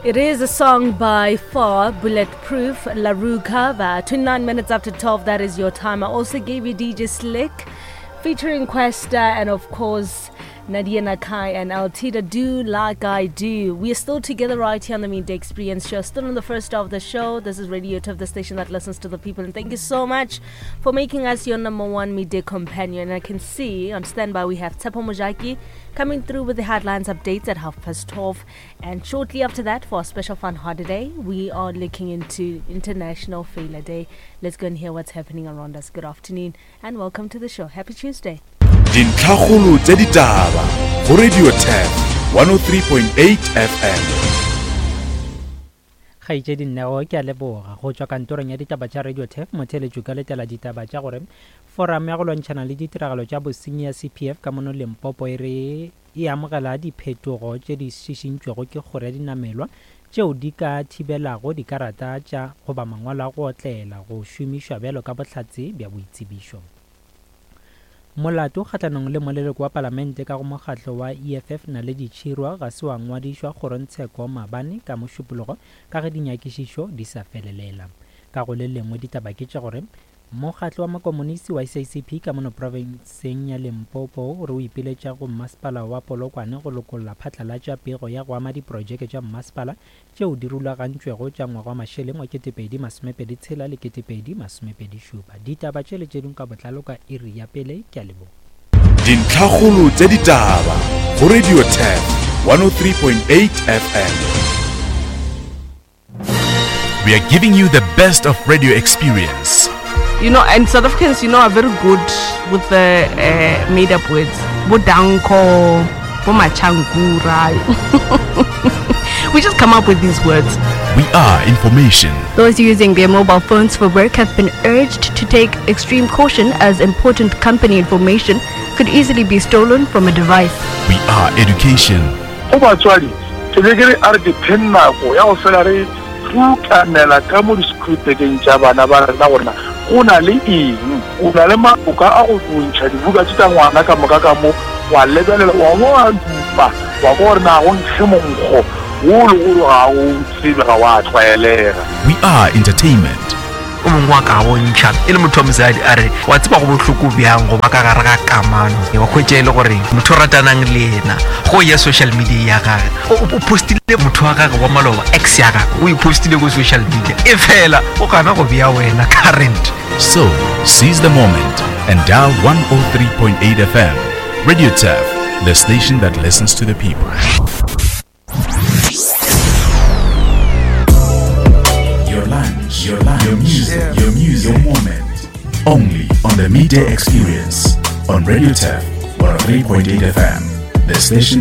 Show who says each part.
Speaker 1: It is a song by Far, Bulletproof, LaRue Cover. 29 minutes after 12, that is your time. I also gave you DJ Slick featuring Questa and, of course, Nadia Nakai and Altida Do Like I Do. We are still together right here on the Midday Experience Show, still on the first of the show. This is Radio Turf, the station that listens to the people. And thank you so much for making us your number one midday companion. And I can see on standby we have Tsepo Mojaki coming through with the headlines updates at 12:30. And shortly after that, for our special fun holiday, we are looking into International Failure Day. Let's go and hear what's happening around us. Good afternoon and welcome to the show. Happy Tuesday.
Speaker 2: Dintlhakgolo tša ditaba go Radio Turf 103.8 FM.
Speaker 3: Kgaetšedi Neo, ke a leboga. Go tšwa kantorong ya ditaba tša Radio Turf, motheeletši o ka letela ditaba tša gore Foramo ya go lwantšhana le ditiragalo tša bosenyi ya CPF ka mono Limpopo e re e amogela diphetogo tše di šišintšwego ke kgoro ya dinamelwa tšeo di ka thibelago dikarata tša goba mangwalo a go otlela go šomišwa bjalo ka bohlatse bja boitsebišo. Molato kgahlanong le moleloko wa palamente ka go mokgatlo wa EFF Naledi Chirwa ga se wa ngwadišwa kgorongtsheko maabane ka Mošupologo ka ge dinyakišišo di sa felelela. Ka go le lengwe ditaba ke tša gore Mokgatlo wa Makomonisi wa SACP ka mono profenseng ya Limpopo o re o ipiletša go mmasepala wa Polokwane go lokolla phatlalatša pego ya go ama diprojeke tša mmasepala tšeo di rulagantšwego tša ngwaga wa mašeleng wa 2026 le 2027. Ditaba tše le tše dingwe ka botlalo ka iri ya pele. Ke a leboga.
Speaker 2: Dintlhakgolo tša ditaba go Radio Turf 103.8 FM. We are giving you the best of radio experience.
Speaker 4: You know, and South Africans, you know, are very good with the uh, made up words. Bodanko, Bomachankura. we just come up with these words.
Speaker 2: We are information.
Speaker 5: Those using their mobile phones for work have been urged to take extreme caution as important company information could easily be stolen from a device.
Speaker 2: We are education.
Speaker 6: Go batswadi, ke be ke re a re dipheng nako ya go fela re rutanela ka mo disekhurupekeng tša bana ba rena gore na go na le eng. O na le maoka a go ntšha dibuka tše tša ngwana ka moka ka mo, wa lebelela, wa bo wa dupa, wa kwa gore na go nkge monkgo wo o lego gore ga o tsebe, ga wa tlwaelega.
Speaker 2: We are entertainment.
Speaker 7: O mongwe wa ka bontšha e le motho wa mosadi a re, Wa tseba go bohloko bjang go ba ka gare ga kamano, wa hwetša e le gore motho o ratanang le yena go ya social media ya gage o postile motho wa gage wa maloba, ex ya gage o e postile ko social media, e fela o gana go bea wena current.
Speaker 2: So, seize the moment and dial 103.8 FM. Radio Turf, the station that listens to the people. Your lunch, your lunch, your music, your music, your moment. Only on the Midday Experience on Radio Turf 103.8 FM, the station